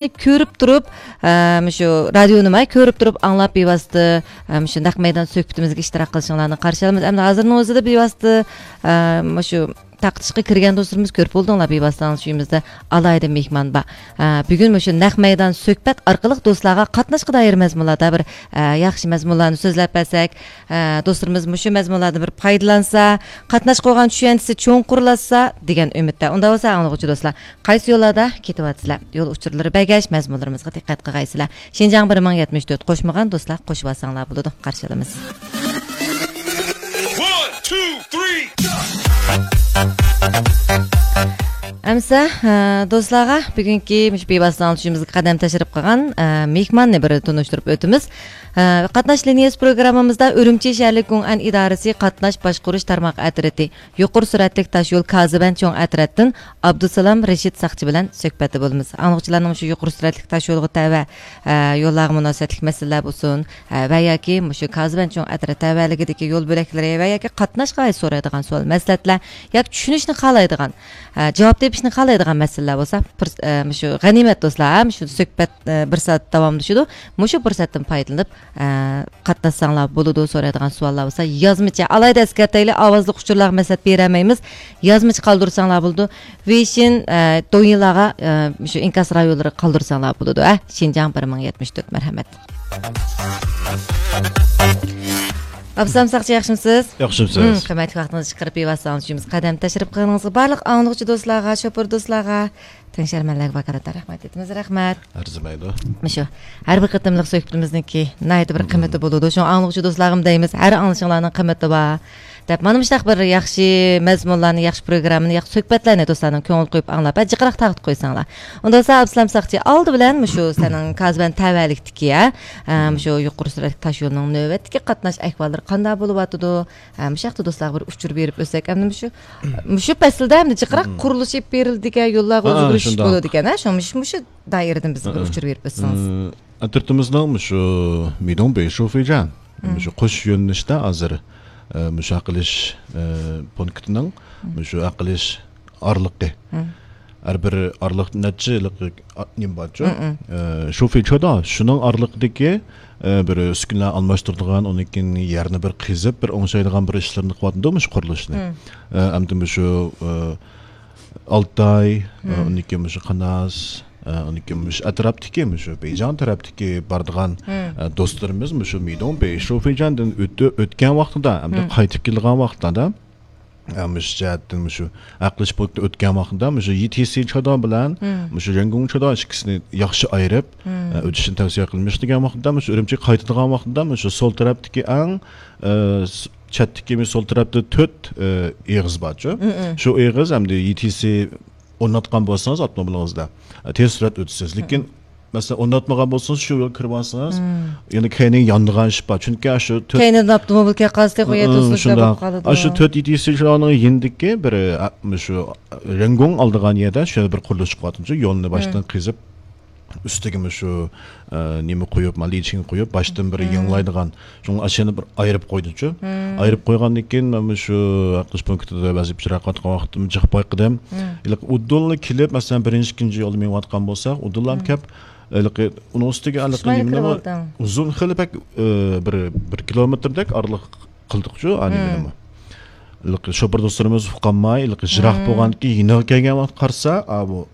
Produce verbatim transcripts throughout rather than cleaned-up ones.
كۆرۈپ تۇرۇپ، ئە، مۇشۇ رادىيونىمۇ كۆرۈپ تۇرۇپ ئاڭلاپ بىۋاسىتە، ئە، مۇشۇ نەق مەيدان سۆھبىتىمىزگە ئىشتىراك قىلىشىڭلارنى قارشى ئالىمىز. ئەمدى ھازىرنىڭ ئۆزىدە بىۋاسىتە، ئە، مۇشۇ تارقىتىشقا كىرگەن دوستلىرىمىز كۆرۈپ بولدۇڭلار، بىۋاسىتە ئاڭلىتىش ئۆيىمىزدە ئالاھىدە مېھمان بار. ئە، بۈگۈن مۇشۇ نەق مەيدان سۆھبەت ئارقىلىق دوستلارغا قاتناشقا دائىر مەزمۇنلاردا بىر، ئە، ياخشى مەزمۇنلارنى سۆزلەپ بەرسەك، ئە، دوستلىرىمىز مۇشۇ مەزمۇنلاردىن بىر پايدىلانسا، قاتناشقا بولغان چۈشەنچىسى چوڭقۇرلاشسا دېگەن ئۈمىدتە. ئۇنداق بولسا ئاڭلىغۇچى دوستلار، قايسى يوللاردا كېتىۋاتىسىلەر؟ يول ئۇچۇرلىرى بەرگەچ، مەزمۇنلىرىمىزغا دىققەت قىلغايسىلەر. شىنجاڭ بىر مىڭ يەتمىش تۆت قوشمىغان دوستلار قوشۇۋالساڭلار بولىدۇ. قارشى ئالىمىز. One, two, three. ئەمسە، ئە، دوستلارغا بۈگۈنكى مۇشۇ بىۋاسىتە ئاڭلىتىشىمىزغا قەدەم تەشرىپ قىلغان، ئە، مېھماننى بىر تونۇشتۇرۇپ ئۆتىمىز. ئە، قاتناش لىنىيەسى پروگراممىمىزدا ئۈرۈمچى شەھەرلىك گۇڭئەن ئىدارىسى قاتناش باشقۇرۇش تارماق ئەترىتى يۇقىرى سۈرئەتلىك تاشيول كازىبەن چوڭ ئەترەتتىن ئابدۇسالام رېشىت ساقچى بىلەن سۆھبەتتە بولىمىز. ئاڭلىغۇچىلارنىڭ مۇشۇ يۇقىرى سۈرئەتلىك تاشيولغا تەۋە، ئە، يوللارغا مۇناسىۋەتلىك مەسىلىلەر بولسۇن، ئە، ۋە ياكى مۇشۇ كازىبەن چوڭ ئەترەت تەۋەلىكىدىكى يول بۆلەكلىرى ۋە ياكى قاتناشقا ئائىت سورايدىغان سوئال مەسلىھەتلەر ياكى چۈشىنىشنى خالايدىغان، ئە، جاۋاب تېپىشنى خالايدىغان مەسىلىلەر بولسا، پۇرس-، ئە، مۇشۇ غەنىيمەت دوستلار، ھە، مۇشۇ سۆھبەت، ئە، بىر سائەت داۋاملىشىدۇ. مۇشۇ پۇرسەتتىن پايدىلىنىپ، ئە، قاتناشساڭلار بولىدۇ، سورايدىغان سوئاللار بولسا يازمىچە، ئالاھىدە ئەسكەرتەيلى، ئاۋازلىق ئۇچۇرلارغا مەسلىھەت بېرەلمەيمىز. يازمىچە قالدۇرساڭلار بولىدۇ. ۋېيشىن، ئە، دويىنلارغا، ئە، مۇشۇ ئىنكاس رايونلىرىغا قالدۇرساڭلار بولىدۇ. ھە، شىنجاڭ بىر مىڭ يەتمىش تۆت، مەرھەمەت. ئابدۇسالام ساقچى، ياخشىمۇسىز؟ ياخشىمۇسىز؟ ھىم، قىممەتلىك ۋاقتىڭىزنى چىقىرىپ، بىۋاسىتە ئاڭلىتىشىمىزغا قەدەم تەشرىپ قىلغىنىڭىزغا، بارلىق ئاڭلىغۇچى دوستلارغا، شوپۇر دوستلارغا، تەڭشەرمەنلەرگە ۋاكالىتەن رەھمەت ئېيتىمىز. رەھمەت. ئەرزىمەيدۇ. مۇشۇ ھەر بىر قېتىملىق سۆھبىتىمىزنىڭكى ناھايىتى بىر قىممىتى بولىدۇ. شۇڭا ئاڭلىغۇچى دوستلارغىمۇ دەيمىز، ھەر ئاڭلىشىڭلارنىڭ قىممىتى بار دەپ، مانا مۇشۇنداق بىر ياخشى مەزمۇنلارنى، ياخشى پروگراممىنى، ياخشى سۆھبەتلەرنى دوستلارنىڭ كۆڭۈل قويۇپ ئاڭلاپ، ھە، جىقراق تارقىتىپ قويساڭلار. ئۇندىسا ئابدۇسالام ساقچى، ئالدى بىلەن مۇشۇ سېنىڭ كازىبەن تەۋەلىكتىكى، ھە، ئە، مۇشۇ يۇقىرى سۈرئەتلىك تاش يولىنىڭ نۆۋەتتىكى قاتناش ئەھۋاللىرى قانداق بولۇۋاتىدۇ؟ ھە، مۇشۇ ھەقتە دوستلارغا بىر ئۇچۇر بېرىپ ئۆتسەك، ئەمدى مۇشۇ، مۇشۇ پەسىلدە ئەمدى جىقراق قۇرۇلۇشى بېرىلىدىكەن، يوللارغا ئۆزگىرىش بولىدىكەن، ھە، شۇ، مۇشۇ، مۇشۇ دائىرىدىن بىزگە بىر ئۇچۇر بېرىپ ئۆتسىڭىز. ئەترىتىمىزنىڭ مۇشۇ مىدوڭ بېيشۇفېيجيەن، مۇشۇ قوش يۆنىلىشتە ھازىر، ئە، مۇشۇ ھەق ئېلىش، ئە، پونكىتىنىڭ مۇشۇ ھەق ئېلىش ئارىلىقى. ھەر بىر ئارىلىق نەچچە ھېلىقى، ئا، نېمە بارچۇ؟ ئە، شۇفېيچودا، شۇنىڭ ئارىلىقىدىكى، ئە، بىر ئۈسكۈنىلەر ئالماشتۇرىدىغان، ئۇنىڭ كېيىن يەرنى بىر قېزىپ، بىر ئوڭشايدىغان بىر ئىشلىرىنى قىلىۋاتىدۇ مۇشۇ قۇرۇلۇشنى. ئە، ئەمدى مۇشۇ، ئە، ئالتاي، ئە، ئۇنىڭ كېيىن مۇشۇ قاناس، ئە، ئۇنىڭ كېيىن مۇشۇ ئەتراپتىكى، مۇشۇ بېيجىڭ تەرەپتىكى بارىدىغان، ئە، دوستلىرىمىز مۇشۇ مىدوڭ بېيشۇفېيجيەندىن ئۆتۈ-، ئۆتكەن ۋاقتىدا، ئەمدى قايتىپ كېلىدىغان ۋاقتىدا، ئە، مۇشۇ جەھەتتىن مۇشۇ ھەق ئېلىش پونكىتىدىن ئۆتكەن ۋاقتىدا مۇشۇ يىتىسى چادان بىلەن مۇشۇ رەنگۇڭ چادان ئىككىسىنى ياخشى ئايرىپ، ئە، ئۆتۈشنى تەۋسىيە قىلىمىز دېگەن ۋاقتىدا، مۇشۇ ئۈرۈمچىگە قايتىدىغان ۋاقتىدا مۇشۇ سول تەرەپتىكى ئەڭ، ئە، س-، چەتتىكى مۇشۇ سول تەرەپتە تۆت، ئە، ئېغىز بارچۇ. شۇ ئېغىز ئەمدى يىتىسى ئورناتقان بولسىڭىز ئاپتوموبىلىڭىزدا، ئە، تېز سۈرئەت ئۆتىسىز. لېكىن مەسىلەن، ئورناتمىغان بولسىڭىز، شۇ يول كىرىۋالسىڭىز، يەنە كەينىگە يانىدىغان ئىش بار. چۈنكى ئاشۇ تۆت كەينىدىن ئاپتوموبىل كەپ قالسا، تېخى ئۇ يەر توسۇنۇش بولۇپ قالىدۇ. ئاشۇ تۆت يىتىسى شۇلارنىڭ يېنىدىكى بىر، ئە، شۇ رەنگۇڭ ئالىدىغان يەردە شۇ يەردە بىر قۇرۇلۇش چىقىۋاتىدۇ. يولنى باشتىن قېزىپ، ئۈستىگە مۇشۇ، ئە، نېمە قويۇپ، ما، لىچىن قويۇپ، باشتىن بىر يېڭىلايدىغان. شۇڭا ئاشۇنى بىر ئايرىپ قويدۇچۇ. ئايرىپ قويغاندىن كېيىن، مەن مۇشۇ ھەق ئېلىش پونكىتىدا ۋەزىپە ئىجرا قىلىۋاتقان ۋاقتىمدا جىق بايقىدىم. ھېلىقى ئۇدۇللا كېلىپ، مەسىلەن، بىرىنچى، ئىككىنچى يولدا مېڭىۋاتقان بولساق، ئۇدۇللا كەپ، ھېلىقى ئۇنىڭ ئۈستىگە ھېلىقى نېمىنىمۇ ئۇزۇن خېلى بەك، ئە، بىر، بىر كىلومېتىردەك ئارىلىق قىلدۇقچۇ، ئا، نېمىنىمۇ. ھېلىقى شوپۇر دوستلىرىمىز ئۇقالماي، ھېلىقى يىراق بولغاندىن كېيىن يېنىغا كەلگەن ۋاقىت قارىسا، ئا، بۇ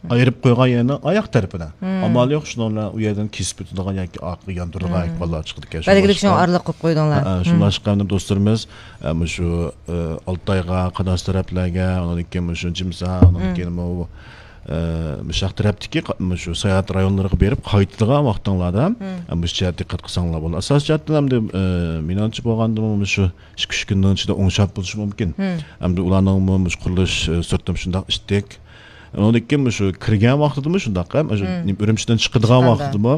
ئايرىپ قويغان يەرنىڭ ئاياق تەرىپىدە. ئامال يوق، شۇنىڭ بىلەن ئۇ يەردىن كېسىپ ئۆتىدىغان ياكى ئارقىغا ياندۇرىدىغان ئەھۋاللار چىقىدىكەن. بەلگىلىك شۇڭا ئارىلىق قويۇپ قويدۇڭلار. ھە، شۇڭلاشقا ئەمدى دوستلىرىمىز، ئە، مۇشۇ، ئە، ئالتايغا، قاناس تەرەپلەرگە، ئۇنىڭدىن كېيىن مۇشۇ جىمسا، ئۇنىڭدىن كېيىن مۇ-، ئە، مۇشۇ ھەق تەرەپتىكى قا-، مۇشۇ ساياھەت رايونلىرىغا بېرىپ قايتىدىغان ۋاقتىڭلاردا، ئە، مۇشۇ جەھەتتە دىققەت قىلساڭلار بولىدۇ. ئاساسىي جەھەتتىن ئەمدى، ئە، مېنىڭچە بولغاندىمۇ مۇشۇ ئىككى، ئۈچ كۈننىڭ ئىچىدە ئوڭشاپ بولۇشى مۇمكىن. ئەمدى ئۇلارنىڭمۇ مۇشۇ قۇرۇلۇش، ئە، سۈرئىتىمۇ شۇنداق ئىتتىك. ئۇنىڭدىن كېيىن مۇشۇ كىرگەن ۋاقتىدىمۇ شۇنداق، ھەم ئۈرۈمچىدىن چىقىدىغان ۋاقتىدىمۇ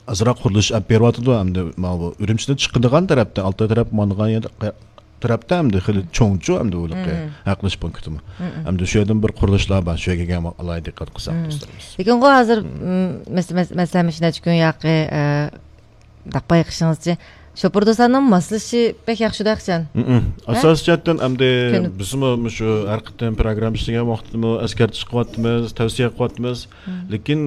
ئازراق قۇرۇلۇش ئېلىپ بېرىۋاتىدۇ. ئەمدى ماۋۇ ئۈرۈمچىدىن چىقىدىغان تەرەپتە، ئالتاي تەرەپ ماڭىدىغان يەردە، تەرەپتە ئەمدى خېلى چوڭچۇ ئەمدى ھېلىقى ھەق ئېلىش پونكىتىمۇ. ئەمدى شۇ يەردىمۇ بىر قۇرۇلۇشلار بار، شۇ يەرگە كەلگەن ئالاھىدە دىققەت قىلساق دوستلىرىمىز. لېكىن ئۇ ھازىر، مەسىلەن، مەسىلەن، مۇشۇ نەچچە كۈن ياقى، ئە، دەپ بايقىشىڭىزچە، شوپۇر دوستلارنىڭ ماسلىشىشى بەك ياخشىدۇ ئەخسەن. ئاساسىي جەھەتتىن ئەمدى بىزمۇ شۇ ھەر قېتىم پروگرامما ئىشلىگەن ۋاقتىمۇ ئەسكەرتىش قىلىۋاتىمىز، تەۋسىيە قىلىۋاتىمىز. لېكىن